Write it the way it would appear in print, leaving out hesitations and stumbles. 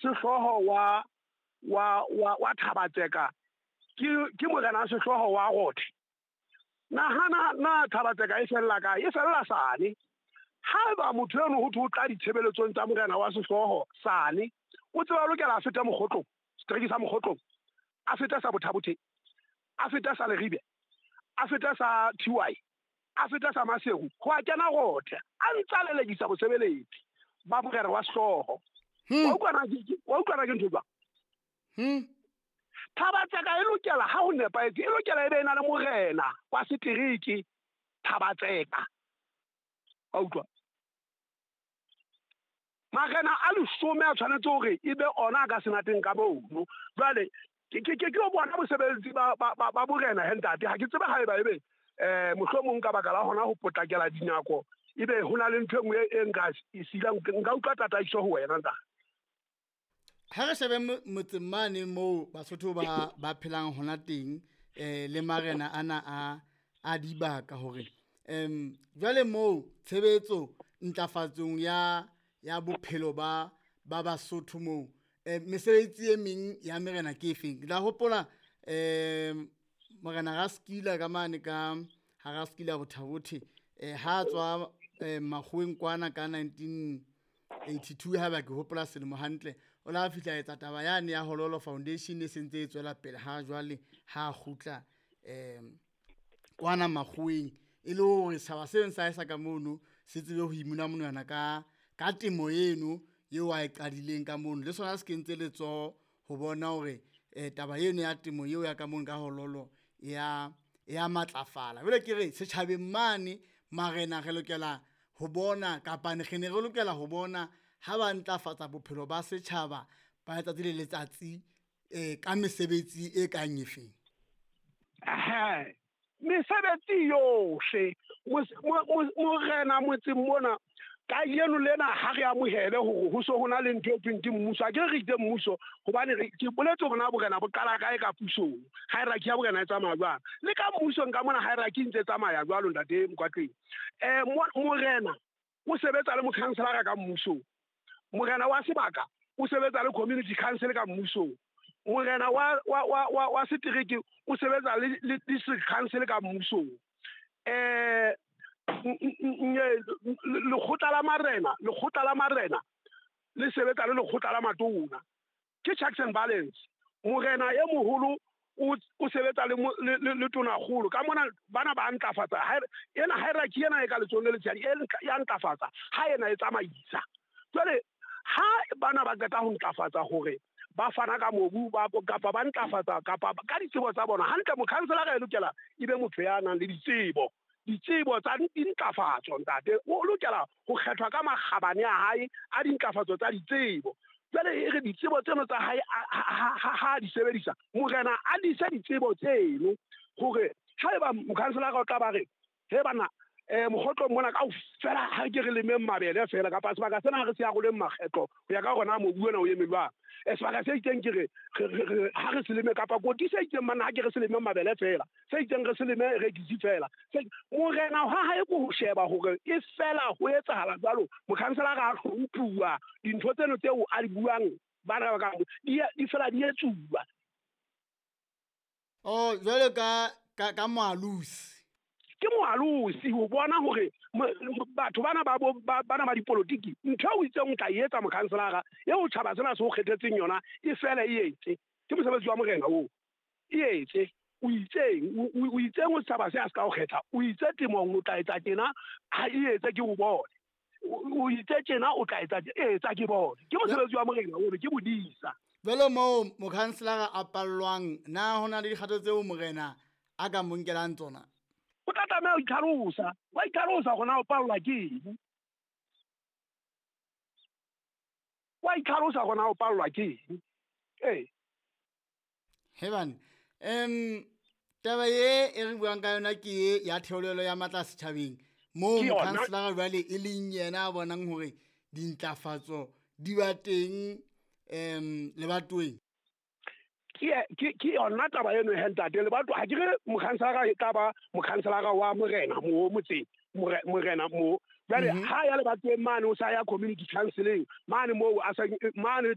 sehlooho wa Thabatseka ke morena wa sehlooho wa Rothe. Nahana na Thabatseka e fella kae? E fella Sane. Haeba motho eno ho thwe o tla ditshebeletsong tsa morena wa sehlooho Sane, o tseba lokela a feta Mokgotlong, setereke sa Mokgotlong, a feta sa Bothabothe, a feta sa Leribe, a feta sa TY, a feta sa Maseru, ho a kena Rothe, a ntsa lelekisa bosebeletsi ba morena wa sehlooho. Wa utlwana ke ntho jwang? Thabatseka e lokela ha ho nepahetse, e lokela e be e na le morena wa setereke Thabatseka. Wa utlwa? Marena a 10 a tshwanetse hore e be ona a ka senateng ka mono. Jwale ke o bona bosebeletsi ba borena he ntate, ha ke tsebe haeba ebe mohlomong ka baka la hona ho potlakela dinako, ebe ho na le ntho e nngwe e nka e silang, nka utlwa tataiso ho wena ntate. Ha re shebe motseng mane moo Basotho ba phelang hona teng, le marena ana a dibaka hore jwale moo tshebetso ntlafatsong ya bophelo ba Basotho moo, mesebetsi e meng ya merena ke efeng? Ke tla hopola morena Raskila ka mane ka ha Raskila Bothabothe, ha tswa makgoweng kwana ka 1982, ha ba ke hopola selemo hantle, o la fihla etsa taba yane ya Hololo Foundation e sentse e tswela pele ha jwale ha kgutla kwana makgoweng, e le hore setjhaba seno sa esa ka mono se tsebe ho imuna monwana ka temo eno eo a e qadileng ka mono, le sona se kentse letsoho ho bona hore taba eno ya temo eo ya ka mono ka Hololo ya matlafala. Jwale ke re setjhabeng mane marena re lokela ho bona, kapa re ne re lokela ho bona ha ba ntlafatsa bophelo ba setjhaba ba letsatsi le letsatsi ka mesebetsi e kang efeng? Mesebetsi yohle morena motseng mona ka yeno lena ha re amohele hore ho so hona le ntho e thweng ke mmuso. Ha ke re itse mmuso hobane ke boletse hore na borena bo qala kae ka pusong, hierarchy ya borena e tsamaya jwang, le ka mmusong ka mona hierarchy ntse tsamaya jwalo ntate Mokwatleng. Morena o sebetsa le mokhanselara ka mmusong, morena wa sebaka o sebetsa le community council ka mmusong, morena wa setereke o sebetsa le district council ka mmusong, lekgotla la marena le sebetsa le lekgotla la matona. Ke checks and balance. Morena e moholo o sebetsa le tonakgolo ka mona, bana ba ntlafatsa ena hierarchy ena e ka letsohong le letshehadi ya ntlafatsa ha ena e tsamaisa. Jwale ha bana ba qeta ho ntlafatsa hore ba fana ka mobu kapa ba ntlafatsa kapa ka ditsebo tsa bona hantle, mokhanselara e lokela e be motho ya nang le ditsebo tsa dintlafatso ntate. O lokela ho kgethwa ka makgabane a hae a dintlafatso tsa ditsebo. Jwale e re ditsebo tseno tsa hae ha di sebedisa, morena a dise ditsebo tseno hore haeba mokhanselara o tla ba re he bana mokgotlong mona kaofela ha ke re lemeng mabele fela, kapa sebaka sena ha re se aroleng makgetlo ho ya ka hore na mobu ona o eme jwang, sebaka se itseng ke re ha re se leme, kapa koti se itseng mana ha ke re se leme mabele fela, se itseng re se leme rekisi fela. Morena ha hae ko ho sheba hore e fela ho etsahala jwalo, mokhanselara a hlomphuwa dintho tseno tseo a di buang bana ba ka di fela di etsuwa. Oh, jwalo ka moalusi. Ke moalusi ho bona hore batho bana bana ba dipolotiki ntho eo itseng o tla etsa mokhanselara eo tjhaba sena se o kgethetseng yona e fela e etse. Ke mosebetsi wa morena oo, e etse. O itseng o setjhaba se a se ka o kgetha, o itse temong o tla etsa tjena, ha e etse ke o bone. O itse tjena o tla etsa ke bone. Ke mosebetsi wa morena oo, ke bodisa. Jwale moo mokhanselara a pallwang, na ho na le dikgato tseo morena a ka mo nkelang tsona? O tla tlameha ho itlhalosa, wa itlhalosa hore na o pallwa ke eng. Wa itlhalosa hore na o pallwa ke eng. Ee. Hebane, taba e re buang ka yona ke e ya theolelo ya matla setjhabeng moo mokhanselara jwale e leng yena a bonang hore dintlafatso di ba teng lebatoweng. Ke yona taba eno he ntate. Lebato ha ke re mokhanselara e tla ba mokhanselara wa morena mo motseng, morena mo. Jwale ha ya lebatoweng mane o sa ya community council-eng mane moo a sa mane